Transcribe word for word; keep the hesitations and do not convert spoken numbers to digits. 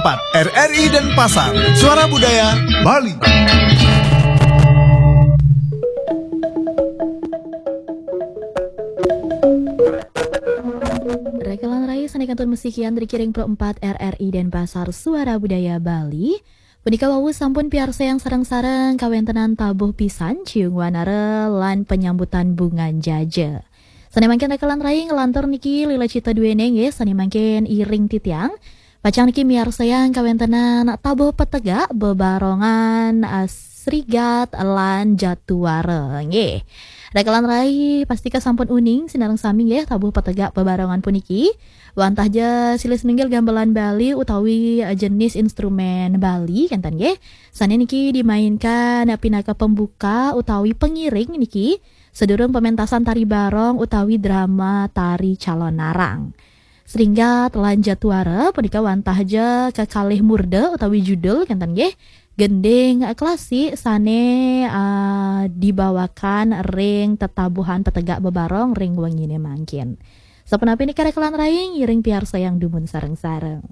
empat R R I Denpasar, Suara Budaya Bali. Rakalan rai sané kantun masikian ring Pro empat R R I Denpasar, Suara Budaya Bali. Punika wau sampun piarsayang sareng-sareng kawéntenan Tabuh Pisan, Ciung Wanara, lan Penyambutan Bungan Jaja. Sané mangkin rakalan rai nglantur niki Lila Cita Duéné nggih, sané mangkin iring titiang. Pacang niki miarsayang kawéntenan Tabuh Petegak bebarongan, ah, Srigat lan Jatuara nggih. Rakalan rai pastika sampun uning sinareng sami nggih Tabuh Petegak bebarongan puniki. Wantah ja silih sinunggil gamelan Bali utawi, eh, jenis instrumen Bali kénten nggih. Sané niki dimainkan, eh, pinaka pembuka utawi pengiring niki sadurung pementasan tari barong utawi drama tari Calonarang. Sringgat lan Jatuara punika wantah ja kekalih murda utawi judul kénten nggih. Gending klasik sané, ah, dibawakan ring tetabuhan petegak bebarong ring wenginé mangkin. Sapunapi nika rakalan rai ngiring piarsayang dumun sareng-sareng.